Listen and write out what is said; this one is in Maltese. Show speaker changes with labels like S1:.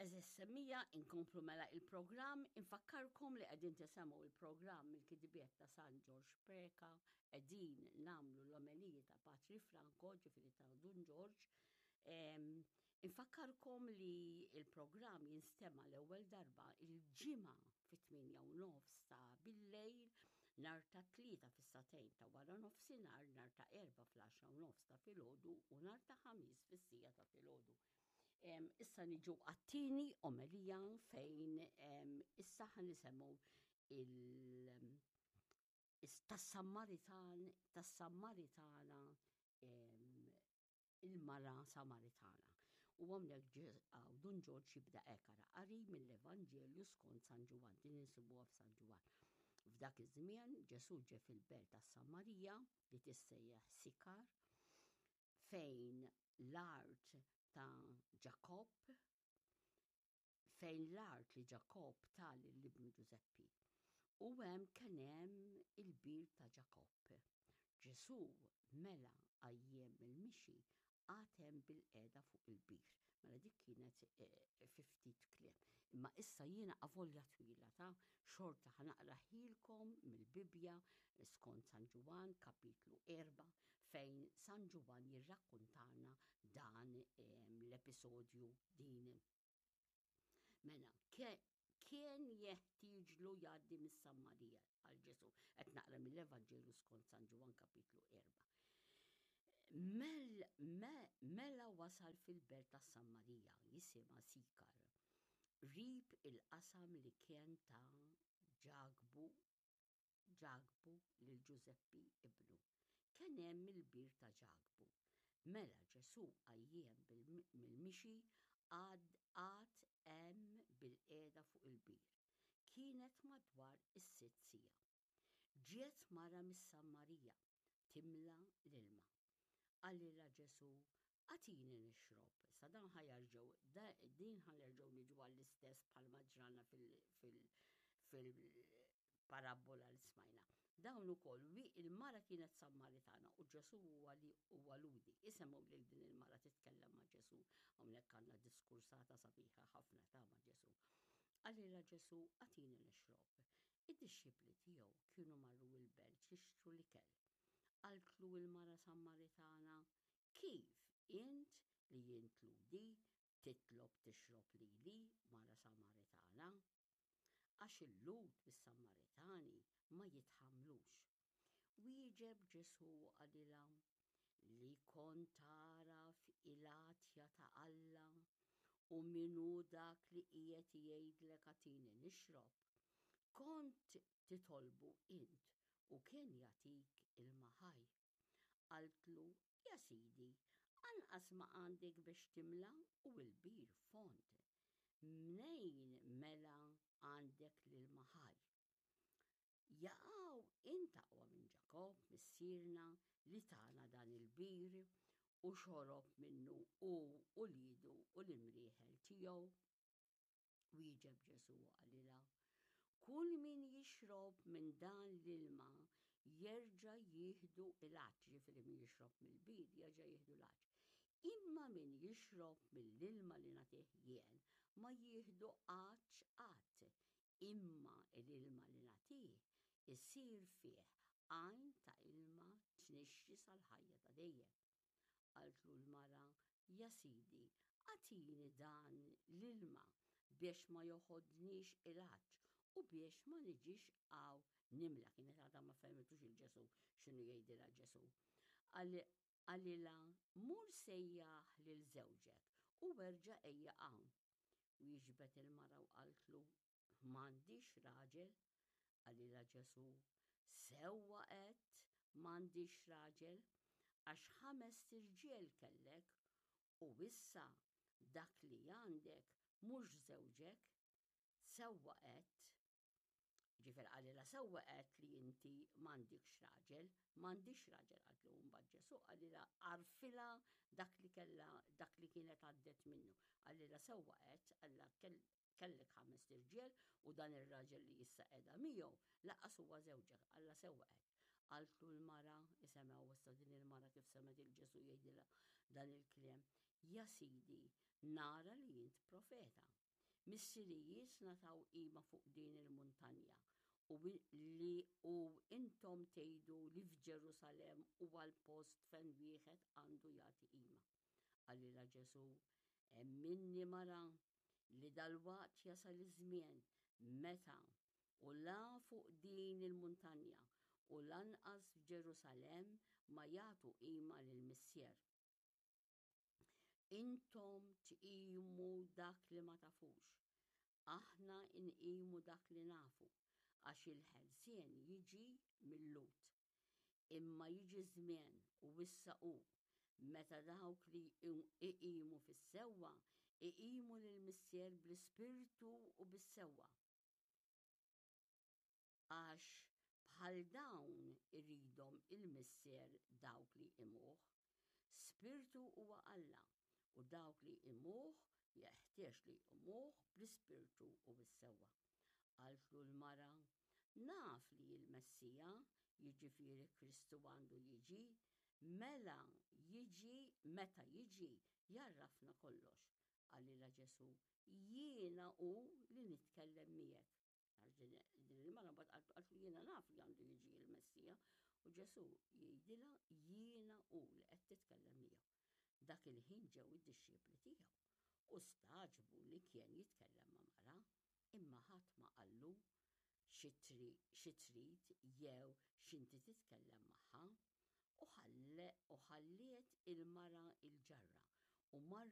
S1: Eżis semmija, inkomplu mela il-programm, infakkarkom li qegħdin tisemgħu il-programm il-kidibiet ta' San Ġorġ Preka, qegħdin namlu l-omeliji ta' Patri Franco, ġifieri ta' Dun Ġorġ. Infakkarkom li il-programm jinstema' l-ewwel darba il-ġimgħa fit-8 u nofs ta' billejl, nar ta' tlieta fis-satejn ta' wara nofsinhar, nar ta' erba' fl-10 u nofs ta' filgħodu u nar ta' ħamis fis-sija ta' filgħodu. Issa niġu għat-tieni omelija fejn issa ħan nisemmu il- tas-Sammaritan, tas-Sammaritana il-mara Samaritana. U għamlek Dun Ġorġ jibda ekara qari mill-Evanġelju skont San Ġwann, din insibuha f'San Ġwann. F'dak iż-żmien Ġesù ġe fil-belt tas-Samarija li tissejjaħ Sikar fejn l-art ta' Ġakobb, fejn l-art li Ġakobb ta lil ibnu Ġużeppi. U hemm kien hemm il-bir ta' Ġakobb. Ġesù mela għajjien mill-mixi qagħad hemm bilqiegħda fuq il-bir. Mela dik kienet eh, fi ftit kliem. Imma issa jiena avolja twila ta' xorta ħanaqraħilkom mill-Bibbja skont San Ġwann kapitlu 4 fejn San Ġwann jirrakkuntana dan ehm, l-episodju din. Mela, kien jeħtieġlu jgħaddi mis-Sammarija għal Ġesu. Qed naqra mill-Evanġelju skont San Ġwann kapitlu 4. Mel, me, mela wasal fil-belt ta' Sammarija jisimha Sikar. Rib il-qasam li kien ta' Ġakbu Ġakbu lil Ġużeppi ibnu. Kien hemm il-bir ta' Ġakbu. Mela Ġesù għajjien mill-mixi għad qagħad hemm bilqiegħda fuq il-bir. Kienet madwar is-sitt siegħa. Ġiet mara mis-Sammarija timla l-ilma. Qalilha Ġesù, Agħtini nixrob. Issa dan ħa jerġgħu, din ħa nerġgħu niġu għall-istess bħalma ġrana fil-parabbola li smajna. Dawn ukoll il-mara kienet Sammaritana u Ġesù huwa li huwa Lhudi. Isemgħu lil din il-mara titkellem ma' Ġesù. Hawnhekk għandna diskursata sabiħa ħafna ta' ma' Ġesù. Qalilha Ġesù, agħtini nixrob. Id-dixxipli tiegħu kienu marru l-belt jixtru l-ikel. Qaltlu il-mara Sammaritana, Kif int li int Lhudi titlob tixrob lili, mara Samaritana? Għax il-Lhud bis-Samaritani ma jitħammlux. Wieġeb Ġesù u qalilha, Li kont tagħraf il-għatja ta' Alla u min hu dak li qiegħed jgħidlek agħtini nixrob, kont titolbu int u kien jagħtik ilma ħaj. Qaltlu, Ja Sidi, anqas ma għandek biex timla u l-bir fond. Mnejn mela għandek l-ilma ħaj? Jaqaw int aqwa minn Ġakobb missierna li tana dan il-bir u xorob minnu hu u uliedu u l-imrieħel tiegħu? Wieġeb Ġesù u qalilha, Kull min jixrob minn dan l-ilma jerġa' jieħdu l-għatx, ġifieri min jixrob mill-bir jerġa' jieħdu l-għatx. Imma min jixrob mill-ilma li nagħtih jien ma jieħdu għatx qatt, imma l-ilma li nagħtih isir fih għajn ta' ilma tnixxi sal-ħajja ta' dejjem. Qaltlu l-mara, Ja Sidi, agħtini dan l-ilma biex ma joħodnix il-għatx u biex ma niġix hawn nimla. Kienet għadha ma fehmitux il-Ġesù x'inhu jgħidilha Ġesù. Qalilha, Mur sejjaħ lil żewġek u erġa' ejja hawn. Wieġbet il-mara u qaltlu, M'għandix raġel. Qalilha Ġesù, Sewwa għedt, m'għandix raġel, għax ħamest irġiel kellek, u issa dak li għandek mhux żewġek. Sewwa għedt. Ġifier qalilha sewwa għedt li inti m'għandikx raġel, m'għandix raġel qaltlu mbagħad Ġesù qalilha għarfilha dak li kellha dak li kienet għaddet minnu. Qalilha sewwa għedt, qalilha Kellek ħamest irġiel u dan ir-raġel li issa qiegħda miegħu lanqas huwa żewġek, Alla sewwa qed. Qaltlu l-mara, isemgħu issa din il-mara kif semgħet il Ġesù jgħidilha dan il-kliem. Ja Sidi, nara li int profeta. Missirijietna taw qima fuq din il-muntanja, u li u intom tgħidu li f'Ġerusalemm huwa l-post fejn wieħed għandu jagħti qima. Qalilha Ġesù, Emminni mara, li dalwaqt jasal iż-żmien meta u la fuq din il-muntanja u lanqas f'Ġerusalemm ma jagħtu qima lill-Missier. Intom tqimu dak li ma tafux, aħna nqimu dak li nafu, għax il-ħelsien jiġi mil-Lhud. Imma jiġi żmien, u issa hu, meta dawk li jqimu fis-sewwa jqimu lill-Missier bl-ispirtu u bis-sewwa. Għax bħal dawn iridhom il-Missier dawk li jqimuh. Spirtu huwa Alla, u dawk li jqimuh jeħtieġ li jqimuh bl-ispirtu u bis-sewwa. Qaltlu l-mara, Naf li l-Messija, jiġifieri Kristu għandu jiġi, mela jiġi, meta jiġi, jgħarrafna kollox. Qalilha Ġesù, Jiena hu li nitkellem miegħek. Għax din il-mara mbagħad qaltlu jiena naf li għandu jiġi l-Messija u Ġesù jgħidilha jiena hu li qed titkellem miegħu. Dak il-ħin ġew id-dixxipli tiegħu u stagħġbu li kien jitkellem ma' mara, imma ħadd ma qallu xi trid jew x'inti titkellem magħha. U ħalliet il-mara l-ġarra u marret.